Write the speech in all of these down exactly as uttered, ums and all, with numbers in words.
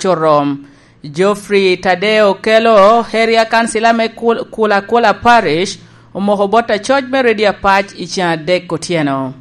Orom. Geoffrey Tadeo Okello, area councillor me Kul-, Kula Kula Parish, omoko bot acoc me Redio Apac i cen adek otyeno.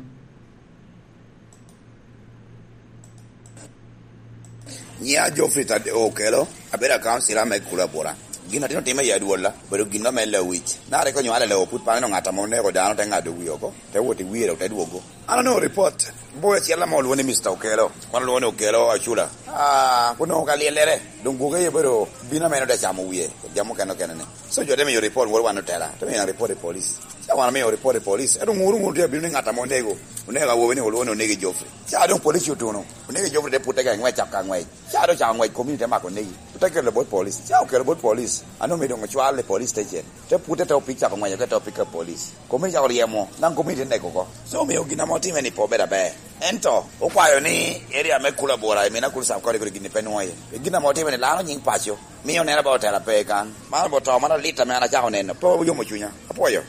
Nyiŋa Geoffrey Tadeo Okello, abedo a councillor me Kula Bura. Gin atino time i adwolla, obedo gin ame lewic. Na rik onywalo i lewo put pano ŋat ame oneko dano te ŋado wie oko, te wot i wie dok te dwogo. An onongo report, boy acel ame olwoŋo ni Mister Okello, wan olwoŋo ni Okello Acula. Ah, kun onongo ka lyellere, doŋ gwoke aye obedo bino ame en ode camo wie, jami okene okene ni. So jo te miyo report wot wan otela, te miyo report i police. Ca wan omio report i police, ento ŋuru ŋuru tye abino ni ŋat ame onego, onego awobi ni olwoŋo ni onegi Geoffrey. Ca doŋ police otuno, onegi Geoffrey te putte ka ngwec, cako ka ngwec. Ca doŋ cako ngwec, community te mako onegi. Ote kelo bot police, ca okelo bot police, ano mi doŋ ocwal i police station. Te putte te opik cako ngwec, te opik ka police. Community cako ryemo, naŋ community te nego oko. So omio gin ame otime ni pe obedo aber. Ento okwayo ni area me Kula Bura, i Mina Kulu Sub County kodi gin pe nwoŋo iye. Gin ame otime ni lano nyiŋ paco, mio neno ba otela pe kan. Man obo to, man alit ame an acako neno, pe oyomo cunya. Apwoyo.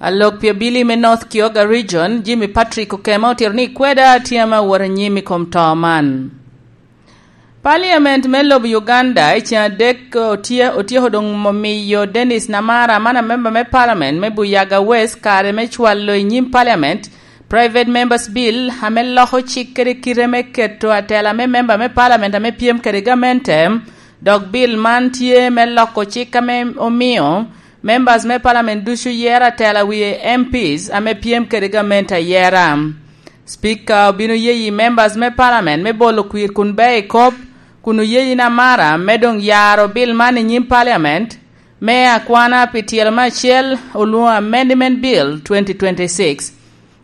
Alok pi abili me North Kyoga Region, Jimmy Patrick Okema, otito ni kweda tye ame awot anyim i kom to man. Parliament me lobo Uganda i cen adek otye-, otyeko doŋ miyo Dennis Namara, man amemba me Parliament me Buyaga West, kare me cwalo i nyim Parliament Private Members Bill, ame loko cik kede kite me keto atela me memba me Parliament ame pyem kede gamente, dok bill man tye me loko cik ame omio members me Parliament ducu yero atela wie M Ps ame pyem kede gamente ayera. Speaker obino yeyi members me Parliament me bolo kwir kun beo i kop, kun oyeyi Namara me doŋ yaro bill man i nyim Parliament me akwana pi tyelo me acel, olwoŋo Amendment Bill twenty twenty-six.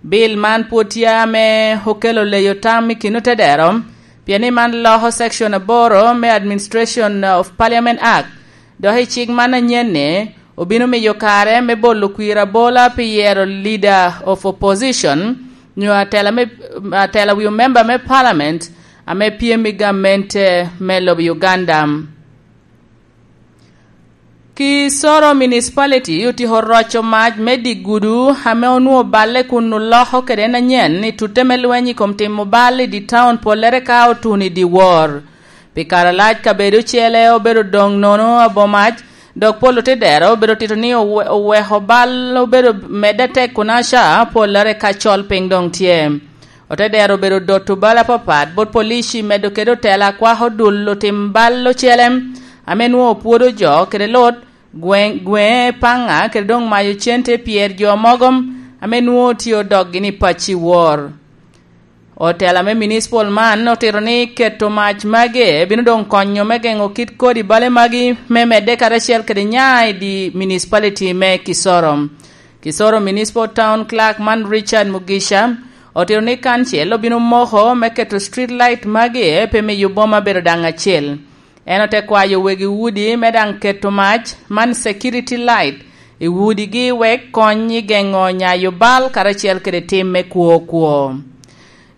Bill man pwod tye ame okelo leyo tam i kin otedero, pien ni man loko section aboro me Administration of Parliament Act. Dok i cik man anyen-ni, obino miyo kare me bolo kwir abola pi yero Leader of Opposition, nyo atela me, atela wi omemba me Parliament ame pyem i gamente me lobo Uganda. Kisoro Municipality otyeko roco mac me dye gudu ame onwoŋo balle kun oloko kede en anyen i tutte me lweny i kom timo bal i dye taun, pollere ka otuno i dyewor. Pi kare alac kabedo ocele obedo doŋ nono abomac, dok pol otedero obedo tito ni owe-, oweko bal obedo medde tek kun aca pollere ka col piny doŋ tye. Otedero obedo doto bal apapat bot polici medo kede otela akwako dul otim bal ocele ame nwoŋo pwodo jo kede lut, gweŋ-, gweŋe paŋa kede doŋ mayo cente pyer jo mogo ame nwoŋo tye odokgi ni pacci wor. Otela me municipal man otito ni keto mac magi bino doŋ konyo me geŋo kit kodi bale magi me medde karacel kede nya i di municipality me Kisoro. Kisoro Municipal Town Clerk man Richard Mugisha otito ni kancil obino moko me keto street light magi pe miyo boma bedo daŋ acel. En ote kwayo wegi udi me daŋ keto mac man security light i udigi wek kony i geŋo nyayo bal karacel kede tim me kwo kwo.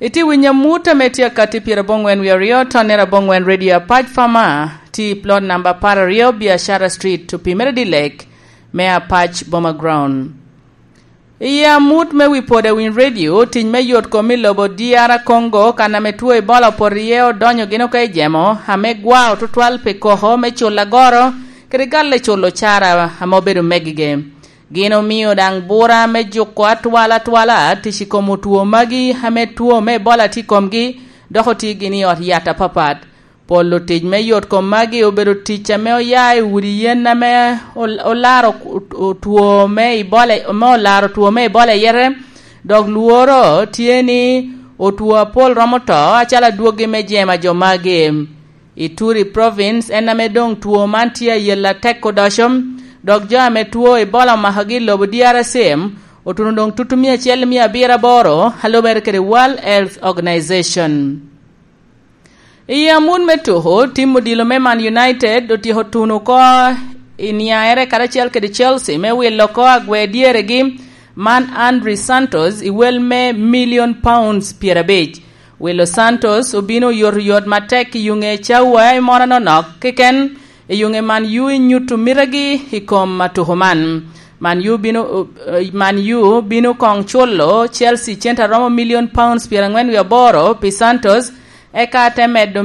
Itye winyo amut ame tye akatti pyeraboŋwen wie aryo, tonne raboŋwen Radio Apac Farmer, tye i plot namba apar aryo Biashara Street, opimere Dilek me Apac Boma Ground. I amut me wi poda Winy Radio, tic me yot kom i lobo D R Congo, kan ame two Ebola opoto iye, odonyo gin oko i jemo ame gwao tutwal pi koko me culo agoro kede galle culo cara ame obedo megige. Gin omio daŋ bura me juko atwal atwala tic i kom otwo magi ame two me Ebola tye i komgi, dok otye gin i ot yat apapat. Pol otic me yot kom magi obedo tic ame oya i udi yen ame ol-, olaro ot-, otwo me Ebola, ame olaro two me Ebola i yete, dok lworo tye ni otwo apol romo to acalo adwogi me jemo a jo magi. I Turi Province en ame doŋ two man tye ayel atek odoco, dok jo ame two Ebola omakogi i lobo D R C otuno doŋ tutu mia acel mia abiro aboro, a lubere kede World Health Organization. I amut me tuko, tim odilo me Man United otyeko tuno oko i niaere karacel kede Chelsea me wilo oko agwer dyeregi man Andrey Santos i wel me million pounds pyerabic. Wilo Santos obino oyotoyot matek i yuŋe cawa i moro anonok keken, i yuŋe Man U i nyuto mitegi i kom atuko man. Man U bino, Man U bino koŋ culo Chelsea cente a romo million pounds pyerangwen wie aboro pi Santos, eka te medo